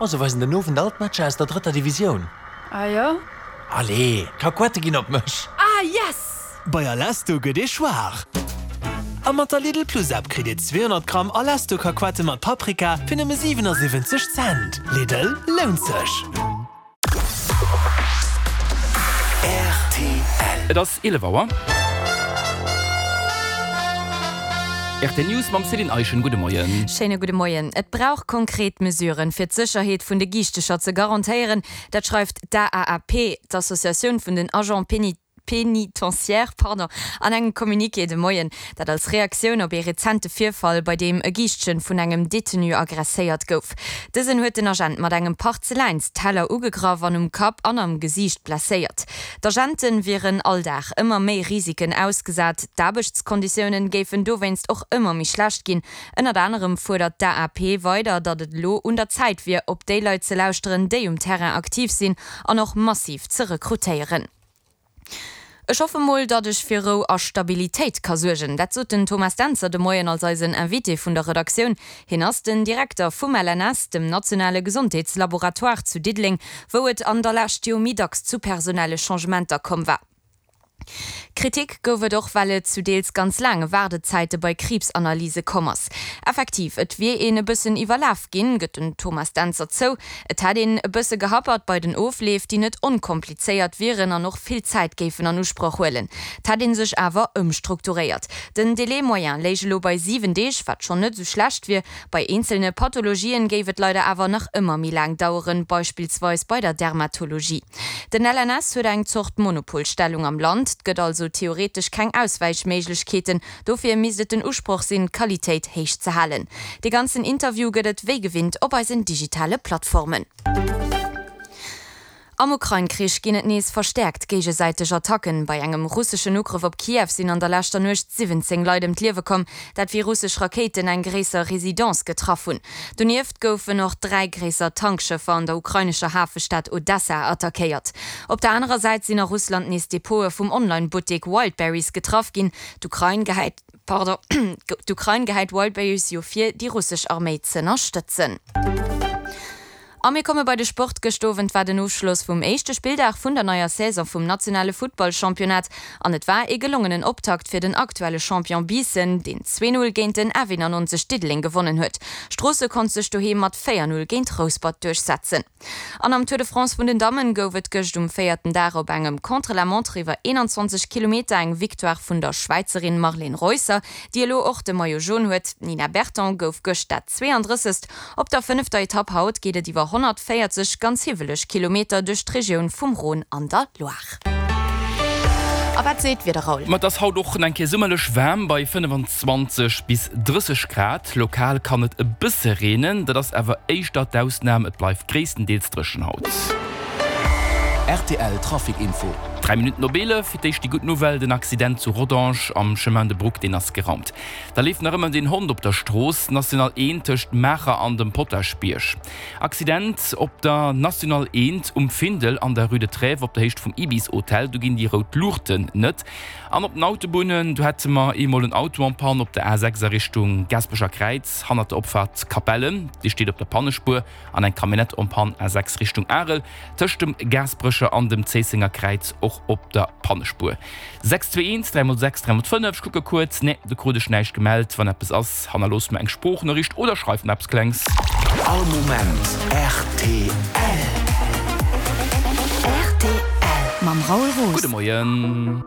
Oh, se weisen den Owend all d'Matcher aus der drëtter Divisioun. Ah jo? Allez, d'Kakuette ginn op mech! Ah yes! Bei Alesto gëtt ee schwaach! A mat der Lidl Plus App kritt Dir 200 Gramm Alesto Kakuette mat Paprika fir nëmme 77 Cent. Lidl, lount sech! Rtl. Et ass 11 Auer. Rtl News mam Céline Eischen. Gudde Moien. Schéine gudde Moien. Et brauch konkret Mesuren, fir d'Sécherheet vun de Giichtecher ze garantéieren. Dat schreift d'AAAP, d'Associatioun vun den Agents pénitentiaires, pardon, an engem Communiqué de Moien. Dat als Reaktioun op ee rezente Virfall, bei deem e Giischtchen vun engem Detenu aggresséiert gouf. Dësen huet den Agent mat engem Parzeläinsteller ugegraff an um Kapp an am Gesiicht blesséiert. D'Agente wieren all Dag ëmmer méi Risiken ausgesat, d'Aarbechtskonditiounen géifen dowéinst och ëmmer méi schlecht ginn. Ënnert anerem fuerdert d'AAP weider, datt et elo un der Zäit wier, op déi Leit ze lauschteren, déi um Terrain aktiv sinn an och massiv ze rekrutéieren. Ech hoffe mol, datt ech fir Rou a Stabilitéit ka suergen. Dat sot den Thomas Dentzer de Moien als eisen Invité vun der Redaktioun. Hien ass den Direkter vum LNS, dem nationale Gesondheetslaboratoire zu Diddeleng, wou et an der Lescht jo méi dacks zu personelle Changementer komm war. Kritik gouf et och, well et zu deels ganz laange Waardezäite bei Kriibsanalyse komm ass. Effektiv, et wier een e bëssen iwwerlaf ginn, gëtt den Thomas Dentzer zou. Et hätt een e bësse gehappert bei den Ofleef, déi net onkomplizéiert wieren an och vill Zäit géifen an Usproch huelen. Et hätt ee sech awer ëmstrukturéiert. Den Délai moyen léich elo bei 7 Deeg, wat schonn net esou schlecht wier. Bei eenzelne Pathologien géif et leider awer nach ëmmer méi laang daueren, beispillsweis bei der Dermatologie. Den LNS huet eng Zort Monopolstellung am Land, 't gëtt also theoretesch keng Auswäichméiglechkeeten. Dofir misst et den Usproch sinn, d'Qualitéit héich ze halen. De ganzen Interview gëtt et wéi gewinnt op eisen digitale Plattformen. Am Ukrain-Krich ginn et nees verstäerkt géigesäiteg Attacken. Bei engem russeschen Ugrëff op Kiew sinn an der leschter Nuecht 17 Leit ëm d'Liewe komm, dat wéi russesch Rakéiten eng gréisser Residence getraff hunn. Donieft goufen och 3 gréisser Tankschëffer an der ukrainescher Hafestad Odessa attackéiert. Op der anerer Säit sinn a Russland nees Depote vum Online-Buttek Wildberries getraff ginn. D'Ukrain gehäit, pardon, d'Ukrain gehäit Wildberries jo vir, déi russesch Arméi z'ënnerstëtzen. A mir komme bei de Sport. Gëscht Owend war den Ofschloss vum éischte Spilldag vun der neier Saison vum nationale Futtballchampionnat an et war ee gelongenen Optakt fir den aktuelle Champion Biissen, deen 2, 0 géint den F91 Diddeleng gewonnen huet. Stroosse konnt sech doheem mat 4, 0 géint Rouspert duerchsetzen. An am Tour de France vun den Dammen gouf et gëscht um véierten Dag op engem Contre-la-montre iwwer 21 Kilometer eng Victoire vun der Schwäizerin Marlene Reusser, déi elo och de Maillot jaune huet. D'Nina Berton gouf gëscht dat 32. Op der fënnefter Etapp haut geet et iwwer 140 ganz hiwweleg Kilometer duerch d'Regioun vum Rhône an der Loire. A wat seet d'Wieder, Raoul? Ma et ass haut och nach eng Kéier summerlech waarm bei 25 bis 30 Grad. Lokal kann et e bësse reenen, dat ass awer éischter d'Ausnam, et bleift gréisstendeels dréchen haut. Rtl Trafic Info. 3 Minutten op 11, fir d'éischt déi gutt Nouvelle, den Accident zu Rodange am Chemin de Brouck, deen ass geraumt. Da leeft nach ëmmer den Hond op der Strooss, National 1 tëscht Maacher an dem Potaschbierg. Accident op der National 1 um Findel an der Rue de Trèves op der Héicht vum Ibis Hotel, do ginn déi rout Luuchten net. An op den Autobunnen, do hätte mer eemol en Auto en panne op der A6 a Richtung Gaasperecher Kräiz hannert der Opfaart Capellen, dee steet op der Pannespuer. An eng Camionnette en panne A6 Richtung Arel tëscht dem Gaasperecher an dem Zéissenger Kräiz och op der Pannespuer. 6 2 1 3 mol 6 3 mol 5 Ech kucke kuerz, nee, do krut ech näischt gemellt. Wann eppes ass, hannerlooss mer eng Sproochnoriicht oder schreif mer eppes Klengs. All Moment rtl. Rtl mam Raoul Roos. Gudde Moien.